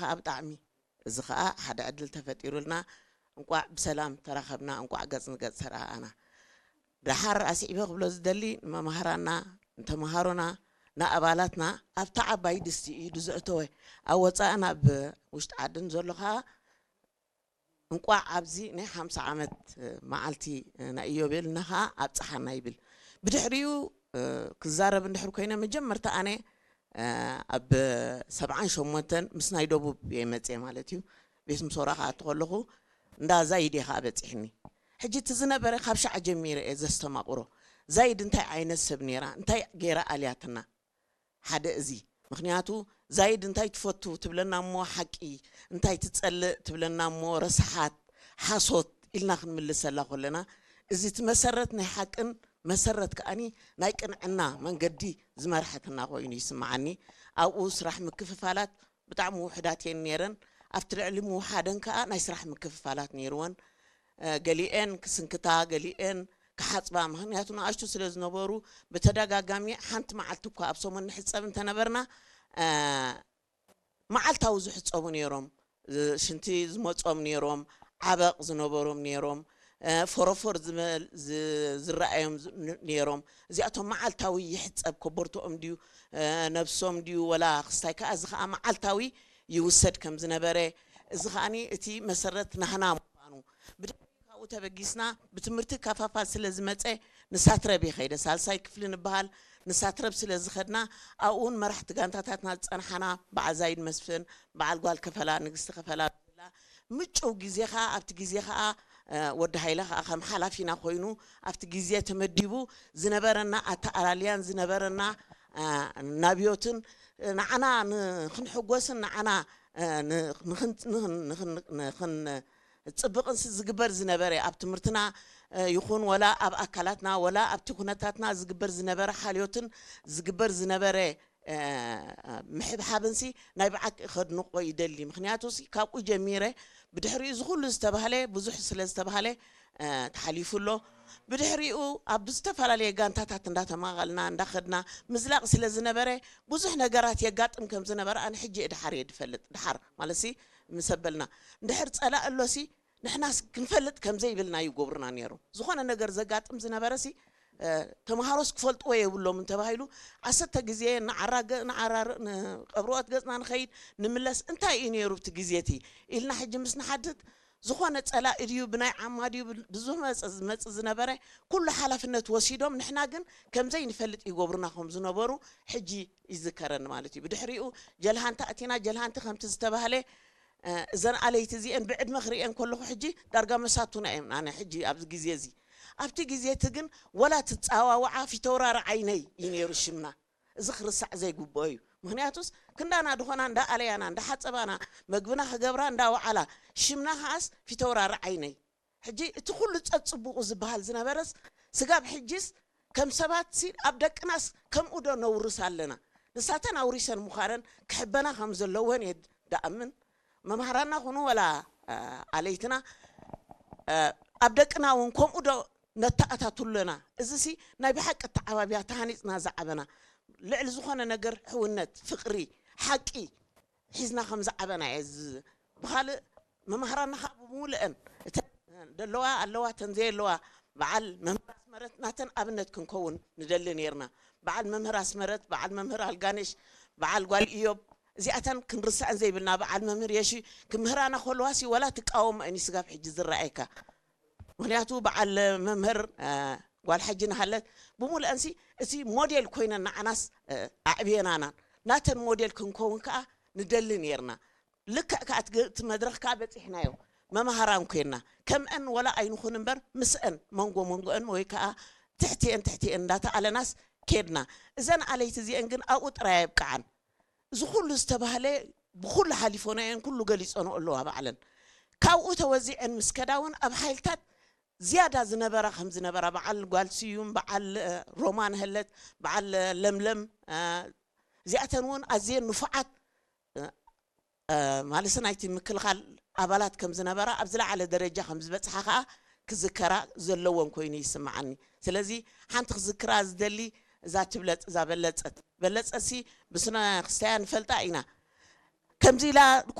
ከዓ ብጣዕሚ፣ እዚ ከዓ ሓደ ዕድል ተፈጢሩልና፣ እንቋዕ ብሰላም ተራኸብና፣ እንቋዕ ገጽ ንገጽ ተረኣኣና። ደሓር ኣስዒበ ክብሎ ዝደሊ ንመማህራና፣ ንተምሃሮና፣ ንኣባላትና ኣብታ ዓባይ ድስቲ ኢዱ ዘእተወ፣ ኣብ ወፃእን ኣብ ውሽጢ ዓድን ዘሎ ከዓ እንቋዕ ኣብዚ ናይ ሓምሳ ዓመት መዓልቲ ናይ ኢዮቤልና ከዓ ኣብፀሓና ይብል። ብድሕሪኡ ክዛረብ እንድሕር ኮይነ፣ መጀመርታ ኣነ ኣብ ሰብዓን ሸሞንተን ምስ ናይ ደቡብ እየ መፅየ ማለት እዩ። ቤት ምሶራ ክኣቱ ከለኹ እንዳ ዛይድ እየ ከዓ በፂሕኒ። ሕጂ እቲ ዝነበረ ካብ ሻዕ ጀሚረ እየ ዘስተማቕሮ። ዛይድ እንታይ ዓይነት ሰብ ነይራ፣ እንታይ ገይራ ኣልያትና? ሓደ እዚ። ምክንያቱ ዛይድ እንታይ ትፈቱ ትብለና እሞ ሓቂ፣ እንታይ ትጸልእ ትብለና እሞ ረስሓት፣ ሓሶት ኢልና ክንምልሰላ ከለና፣ እዚ እቲ መሰረት ናይ ሓቅን መሰረት ከኣኒ ናይ ቅንዕና መንገዲ ዝመርሐትና ኮይኑ ይስምዓኒ። ኣብኡ ስራሕ ምክፍፋላት ብጣዕሚ ውሕዳት እየን ነይረን። ኣብቲ ልዕሊ ምውሓደን ከኣ ናይ ስራሕ ምክፍፋላት ነይርወን። ገሊኤን ክስንክታ፣ ገሊኤን ክሓጽባ፣ ምኽንያቱ ንኣሽቱ ስለ ዝነበሩ ብተደጋጋሚ ሓንቲ መዓልቲ እኳ ኣብ ሰሙን ንሕጸብ እንተነበርና፣ መዓልታዊ ዝሕጸቡ ነይሮም። ሽንቲ ዝመጾም ነይሮም፣ ዓበቕ ዝነበሮም ነይሮም፣ ፎሮፎር ዝረኣዮም ነይሮም። እዚኣቶም መዓልታዊ ይሕጸብ፣ ኮቦርትኦም ድዩ፣ ነብሶም ድዩ፣ ወላ ክስታይ ከኣ፣ እዚ ከኣ መዓልታዊ ይውሰድ ከም ዝነበረ፣ እዚ ከኣኒ እቲ መሰረት ናህና ምዃኑ፣ ብድሕሪ ካብኡ ተበጊስና ብትምህርቲ ካፋፋል ስለ ዝመጸ፣ ንሳትረብ ይኸይደ። ሳልሳይ ክፍሊ ንበሃል፣ ንሳትረብ ስለ ዝኸድና፣ ኣብኡ እውን መራሕቲ ጋንታታትና ዝጸንሓና፣ በዓል ዛይድ መስፍን፣ በዓል ጓል ከፈላ፣ ንግስቲ ከፈላ፣ ምጭው ግዜ ኸኣ፣ ኣብቲ ግዜ ኸኣ ወዲ ሃይለ ኸኣ ከም ሓላፊና ኮይኑ ኣብቲ ግዜ ተመዲቡ ዝነበረና ኣተኣላልያን ዝነበረና ናብዮትን ንዓና ንክንሕጎስን ንዓና ንክንጽብቕንሲ ዝግበር ዝነበረ ኣብ ትምህርትና ይኹን ወላ ኣብ ኣካላትና ወላ ኣብቲ ኩነታትና ዝግበር ዝነበረ ሓልዮትን ዝግበር ዝነበረ ምሕብሓብንሲ ናይ ብዓቂ ከድንቆ ይደሊ። ምክንያቱሲ ካብኡ ጀሚረ ብድሕሪኡ እዚ ኩሉ ዝተባህለ ብዙሕ ስለ ዝተባህለ ተሓሊፉ ኣሎ። ብድሕሪኡ ኣብ ዝተፈላለየ ጋንታታት እንዳተማቐልና እንዳኸድና ምዝላቕ ስለ ዝነበረ ብዙሕ ነገራት የጋጥም ከም ዝነበረ ኣነ ሕጂ እየ ድሓር እየ ድፈልጥ። ድሓር ማለትሲ ምስ ኣበልና እንድሕር ጸላእ ኣሎሲ ንሕናስ ክንፈልጥ ከም ዘይብልና ይገብሩና ነይሮም። ዝኾነ ነገር ዘጋጥም ዝነበረሲ ተምሃሮስ ክፈልጥዎ የብሎምን ተባሂሉ ዓሰርተ ግዜ ንዓራገ ንዓራርእ ንቀብርኦት ገጽና ንኸይድ ንምለስ እንታይ እዩ ነይሩ ኣብቲ ግዜ እቲ ኢልና ሕጂ ምስ ንሓትት ዝኾነ ጸላኢ ድዩ ብናይ ዓማ ድዩ ብዝመጽእ ዝመጽእ ዝነበረ ኩሉ ሓላፍነት ወሲዶም ንሕና ግን ከም ዘይንፈልጥ ይገብሩና ከም ዝነበሩ ሕጂ ይዝከረኒ ማለት እዩ። ብድሕሪኡ ጀልሃንቲ ኣቲና ጀልሃንቲ ከምቲ ዝተባህለ እዘን ኣለይቲ እዚአን ብዕድመ ክርእየን ከለኹ ሕጂ ዳርጋ መሳቱና እየን ኣነ ሕጂ ኣብዚ ግዜ እዚ ኣብቲ ግዜ እቲ ግን ወላ ትፃዋውዓ ፊተውራሪ ዓይነይ እዩ ነይሩ ሽምና። እዚ ክርስዕ ዘይግብኦ እዩ። ምክንያቱስ ክንዳና ድኾና እንዳ ኣለያና እንዳ ሓፀባና መግብና ክገብራ እንዳ ወዓላ ሽምና ከዓስ ፊተውራሪ ዓይነይ ሕጂ እቲ ኩሉ ፀፅቡቑ ዝበሃል ዝነበረስ ስጋብ ሕጂስ ከም ሰባት ሲ ኣብ ደቅናስ ከምኡ ዶ ነውርስ ኣለና? ንሳተን ኣውሪሰን ምዃነን ክሕበና ከም ዘለወን እየ ደኣምን። መምሃራና ኩኑ ወላ ኣለይትና ኣብ ደቅና እውን ከምኡ ዶ ነተኣታትለና? እዚ ሲ ናይ ብሓቂ ተዓባቢያ ተሃኒፅና ዝዓበና ልዕሊ ዝኾነ ነገር ሕውነት፣ ፍቕሪ፣ ሓቂ ሒዝና ከም ዝዓበና እየ። ብኻልእ መማህራና ከዓ ብምሉአን እተን ደለዋ ኣለዋ እተን ዘየለዋ በዓል መምህር ኣስመረት ናተን ኣብነት ክንከውን ንደሊ ነይርና። በዓል መምህር ኣስመረት፣ በዓል መምህር ኣልጋነሽ፣ በዓል ጓል ኢዮብ እዚኣተን ክንርስዐን ዘይብልና። በዓል መምህር የሺ ክምህራና ከለዋሲ ወላ ትቃወሞ እኒ ስጋብ ሕጂ ዝረኣየካ። ምክንያቱ በዓል መምህር ጓል ሓጂ ናሃለት ብምሉአንሲ እቲ ሞዴል ኮይነን ንዓናስ ኣዕብየናናን ናተን ሞዴል ክንከውን ከዓ ንደሊ ነይርና። ልክዕ ከዓ እቲ መድረኽ ከዓ በፂሕናዮ። መምሃራን ኮይንና ከምአን ወላ ኣይንኹን እምበር ምስአን መንጎ መንጎአን ወይ ከዓ ትሕቲአን ትሕቲአን እንዳተኣለናስ ኬድና። እዘን ኣለይቲ እዚአን ግን ኣብኡ ጥራይ ኣይብቅዓን። እዚ ኩሉ ዝተባህለ ብኩሉ ሓሊፎናየን ኩሉ ገሊፀንኦ ኣለዋ ባዕለን። ካብኡ ተወዚዐን ምስ ከዳ እውን ኣብ ሓይልታት ዝያዳ ዝነበራ ከም ዝነበራ በዓል ጓል ስዩም፣ በዓል ሮማን ህለት፣ በዓል ለምለም እዚኣተን እውን ኣዝየን ንፉዓት ማለት ናይቲ ምክልኻል ኣባላት ከም ዝነበራ ኣብ ዝለዓለ ደረጃ ከም ዝበፅሓ ከዓ ክዝከራ ዘለወን ኮይኑ ይስምዓኒ። ስለዚ ሓንቲ ክዝክራ ዝደሊ እዛ ትብለፅ እዛ በለፀት በለፀሲ ብስነ ክስተያ ንፈልጣ ኢና። ከምዚ ኢላ